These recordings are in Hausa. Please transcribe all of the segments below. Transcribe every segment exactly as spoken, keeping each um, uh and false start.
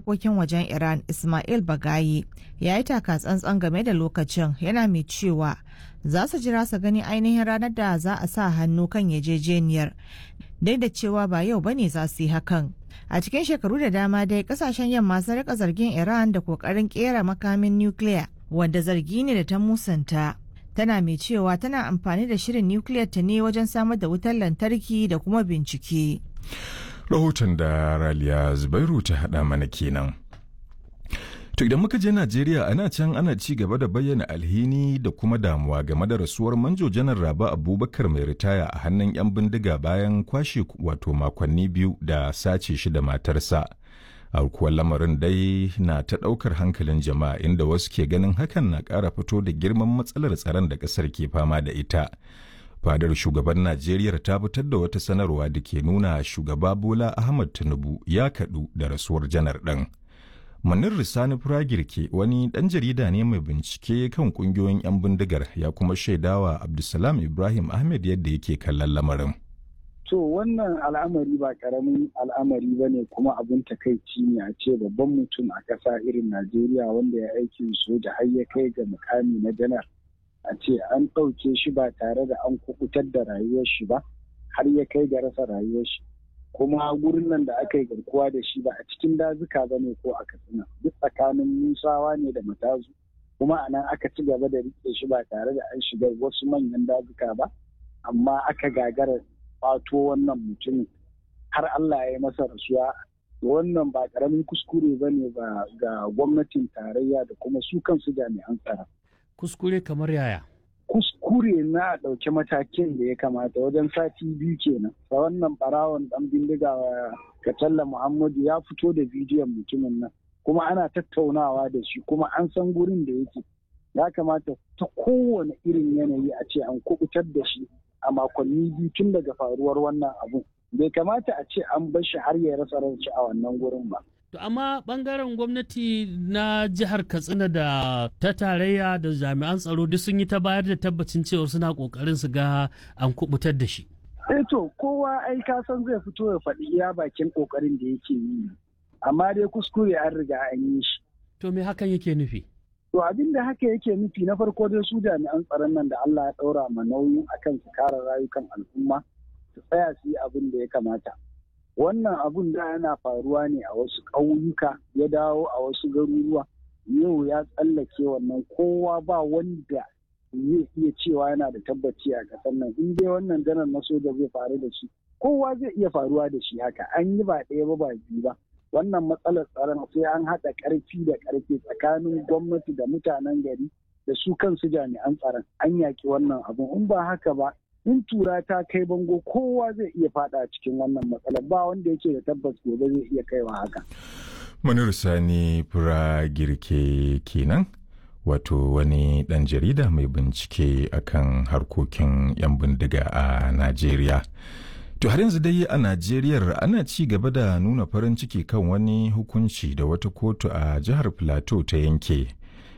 harkokin wajen Iran Ismail Bagayi ya yi taka tsantsan game da lokacin, yana mai cewa za su jira su gani ainihin ranar da za a sa hannu kan yarjejeniyar, duk da cewa ba yau bane za su yi hakan. A cikin shekaru da dama dai kasashen yamma sun rika zargin Iran da kokarin kera makamin nukiliya, wanda zargi ne da ta musanta. Tana mai cewa tana amfani da shirin nukiliyar ta ne wajen samar da wutar lantarki da kuma bincike. Rahoton da Raliya Zubairu ta haɗa mana kenan. To idan muka je Najeriya, ana can ana ci gaba da bayyana alhini da kuma damuwa game da rasuwar Manjo Janar Raba Abubakar mai ritaya a hannun 'yan bindiga bayan kwashe wato makonni biyu da sace shi da matarsa. Aukuwar lamarin dai na ta ɗaukar hankalin jama'a, inda wasu ke ganin hakan na ƙara fito da girman matsalar tsaron da ƙasar ke fama da ita. Fadar shugaban Najeriya ta fitar da wata sanarwa da ke nuna shugaba Bola Ahmad Tinubu ya kaɗu da rasuwar janar ɗin. Manir Risani Firagirke wani ɗan jarida ne mai bincike kan ƙungiyoyin 'yan bindigar, ya kuma shaidawa Abdulsalam Ibrahim Ahmed yadda yake kallon lamarin. To, wannan al'amari ba karamin al'amari ba ne, kuma abin takaici ne a ce babban mutum a ƙasa irin Najeriya wanda ya aikin soja har ya kai ga mukami na janar, a ce an ɗauke shi ba tare da an kubutar da rayuwar shi ba har ya kai ga rasa rayuwar shi. Kuma gurin nan da aka yi garkuwa da shi ba a cikin dazuka ba ne ko a Katsina, duk tsakanin Musawa ne da Matazu, kuma a nan aka ci gaba da rike shi ba tare da an shiga wasu manyan dazuka ba, amma aka gagara kwato wannan mutumin har Allah ya yi masa rasuwa. Wannan ba karamin kuskure ba ne ba ga gwamnatin tarayya da kuma su kansu jami'an tsaro. Kuskure kamar yaya? Kuskure na ɗauki matakin da ya kamata wajen sati biyu kenan. Da wannan barawon ɗan bindiga Katalla Muhammadu ya fito da bidiyon mutumin nan, kuma ana tattaunawa da shi, kuma an san gurin da yake. Ya kamata ta kowane irin yanayi a ce an kubutar da shi a makonni biyu tun daga faruwar wannan abun. Bai kamata a ce an bar shi har ya rasa ranci a wannan gurin ba. To amma bangaren gwamnati na jihar Katsina da ta tarayya da jami'an tsaro duk sun yi ta bayar da tabbacin cewa suna kokarin su ga an kubutar da shi. Eh to, kowa ai ka san zai fito ya faɗi iya bakin kokarin da yake yi. Amma dai kuskure an riga an yi shi. To me hakan yake nufi? To, abin da haka yake nufi, na farko dai su jami'an tsaron nan da Allah ya ɗaura ma nauyin akan su kare rayukan al'umma, su tsaya su yi abin da ya kamata. Wannan abun da yana faruwa ne a wasu ƙauyuka ya dawo a wasu garuruwa, yau ya tsallake wannan. Kowa ba wanda zai iya cewa yana da tabbaci a ƙasar nan. In dai wannan janar na soja zai faru da shi, kowa zai iya faruwa da shi. Haka an yi ba ɗaya ba ba biyu ba. Wannan matsalar tsaron sai an haɗa ƙarfi da ƙarfe tsakanin gwamnati da mutanen gari da su kansu jami'an tsaron an yaƙi wannan abun. In ba haka ba, in tura ta kai bango, kowa zai iya fada cikin wannan matsalar. Ba wanda yake da tabbas gobe zai iya kaiwa haka. Manir Sani Fura Girke kenan, wato wani ɗan jarida mai bincike akan harkokin 'yan bindiga a Najeriya. To har yanzu dai a Najeriya, ana ci gaba da nuna farin ciki kan wani hukunci da wata kotu a jihar Plateau ta yanke,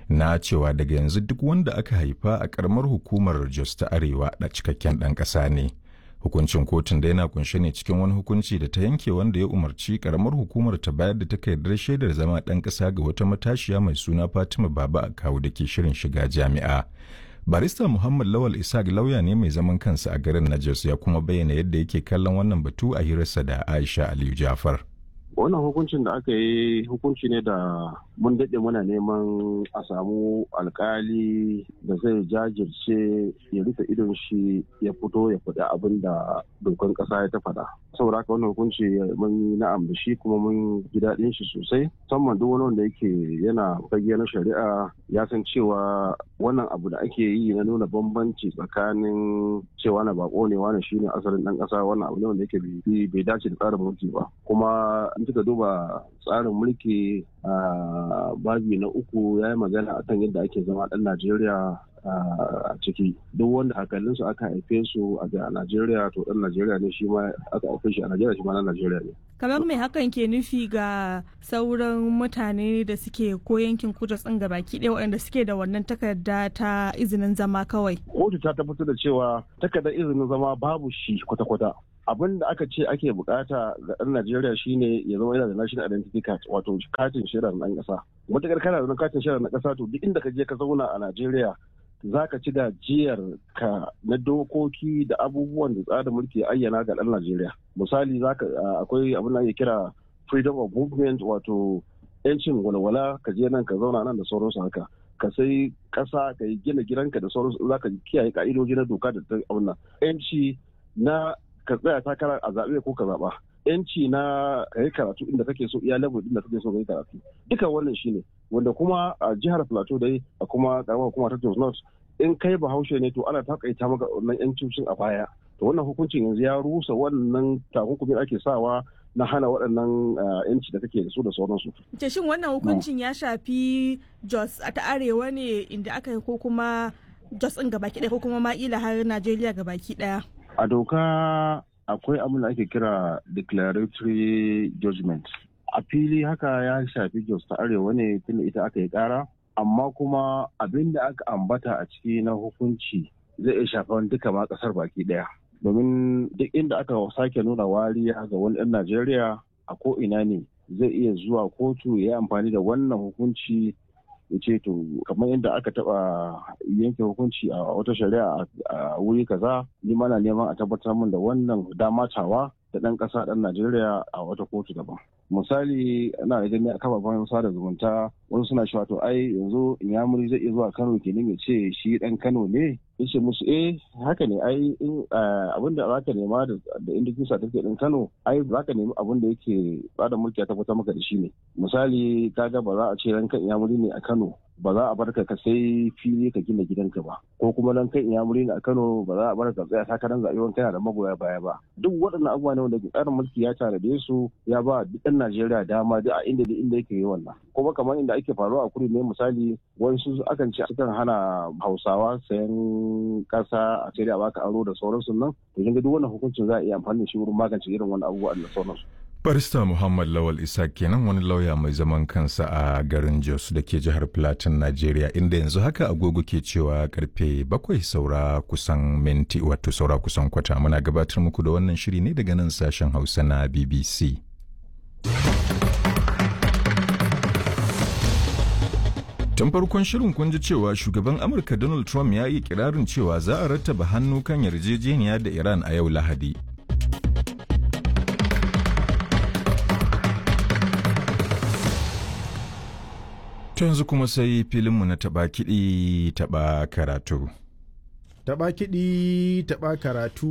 na cewa daga yanzu duk wanda aka haifa a karamar hukumar Jos ta Arewa da cikakken ɗan ƙasa ne. Hukuncin kotun da yana kunshe ne cikin wani hukunci da ta yanke wanda ya umarci karamar hukumar ta bayar da takardar shaidar zama ɗan ƙasa ga wata matashiya mai suna Fatima Baba a kawo da ke shirin shiga jami'a. Barista Muhammad Lawal Isaac lauya ne mai zaman kansa a garin na Jos, ya kuma bayyana yadda yake kallon wannan batu a hirarsa da Aisha Aliyu Jafar. Wannan hukuncin da aka yi hukunci ne da mun daɗe muna neman a samu alkali da zai jajirce ya rufe idon shi ya fito ya faɗi abin da dokan ƙasa ya ta faɗa. Saboda haka wannan hukunci mun yi na'am da shi kuma mun ji daɗin shi sosai, musamman duk wani wanda yake yana fage na shari'a ya san cewa wannan abu da ake yi na nuna bambanci tsakanin cewa na bako ne, wani shine asalin ɗan ƙasa, wannan abu ne wanda yake bai dace da tsarin mulki ba. Kuma in kika duba tsarin mulki a babi na uku, ya yi magana akan yadda ake zama ɗan Najeriya a ciki. Duk wanda hakalinsu aka haife su a Najeriya, to ɗan Najeriya ne shi ma, aka haife shi a Najeriya, shi ma ɗan Najeriya ne. Kamar mai hakan ke nufi ga sauran mutane da suke ko yankin kudu tsin baki ɗaya waɗanda suke da wannan takarda ta izinin zama kawai? Kotu ta tabbatar da cewa takardar izinin zama babu shi kwata-kwata. Abin da aka ce ake bukata ga ɗan Najeriya shine ya zama yana da national identity card, wato katin shaidar ɗan ƙasa. Matuƙar kana da katin shaidar na ƙasa, to duk inda ka je ka zauna a Najeriya za ka ci gajiyar ka na dokoki da abubuwan da tsarin mulki ya ayyana ga ɗan Najeriya. Misali, zaka akwai abin da ake kira freedom of movement, wato 'yancin walwala, ka je nan ka zauna nan da sauransu haka. Ka sai ƙasa, ka yi gina gidanka da sauransu, za ka kiyaye ka'idoji na doka da abin nan. 'Yanci na ka tsaya takara a zaɓe ko ka zaɓa. Yanci na ka yi karatu inda kake so, iya level inda kake so ka yi karatu. Duka wannan shine wanda kuma a jihar Plateau dai a kuma karamar hukuma ta Jos North, in kai Bahaushe ne to ana takaita maka wannan yancin a baya. To wannan hukuncin yanzu ya rusa wannan takunkumin ake sawa na hana waɗannan yanci da kake da su da sauransu. Ce shin wannan hukuncin ya shafi Jos ta Arewa ne inda aka yi, ko kuma Jos ɗin gabaki ɗaya, ko kuma ma ila har Najeriya gabaki ɗaya? A doka akwai abin da ake kira declaratory judgment. A fili haka ya shafi Jos ta Arewa ne tunda ita aka yi kara, amma kuma abin da aka ambata a ciki na hukunci zai iya shafan duka ma kasar baki daya, domin duk inda aka sake nuna wariya ga wani ɗan Najeriya a ko ina ne, zai iya zuwa kotu ya yi amfani da wannan hukunci ya ce, to kamar yadda aka taba yanke hukunci a wata shari'a a wuri kaza, ni mana neman a tabbatar min da wannan dama tawa da ɗan ƙasa ɗan Najeriya a wata kotu daban. Misali, ana da gani a kafafen sada zumunta wasu suna cewa, to ai yanzu Inyamuri zai iya zuwa Kano kenan ya ce shi ɗan Kano ne. Ya ce musu, eh, haka ne, ai abin da zaka nema da indigenous certificate ɗin Kano, ai zaka nemi abin da yake bada mulki ya tabbatar maka da shi ne. Misali, kaga ba za a ce ranka Inyamuri ne a Kano ba za a bar ka ka sai fili ka gina gidanka ba, ko kuma nan kai Inyamuri ne a Kano ba za a bar ka tsaya takarar zaɓe wani kana da magoya baya ba. Duk waɗannan abubuwa ne wanda tsarin mulki ya tanade su, ya ba duk ɗan Najeriya dama duk a inda duk inda yake yi wannan. Kuma kamar inda ake faruwa a kudu ne, misali, wasu akan ce sukan hana Hausawa sayan ƙasa a sai a baka aro da sauransu nan. To kin ga duk wannan hukuncin za a iya amfani da shi wurin magance irin wannan abubuwa da sauransu. Barista Muhammad Lawal Isa kenan, wani lauya mai zaman kansa a garin Jos da ke jihar Plateau, Najeriya, inda yanzu haka agogo ke cewa karfe bakwai saura kusan minti, wato saura kusan kwata. Muna gabatar muku da wannan shiri ne daga nan sashen Hausa na B B C. Tun farkon shirin kun ji cewa shugaban Amurka Donald Trump ya yi kirarin cewa za a rattaba hannu kan yarjejeniya da Iran a yau Lahadi. To yanzu kuma sai filinmu na taɓa kiɗi taɓa karatu. Taɓa kiɗi taɓa karatu.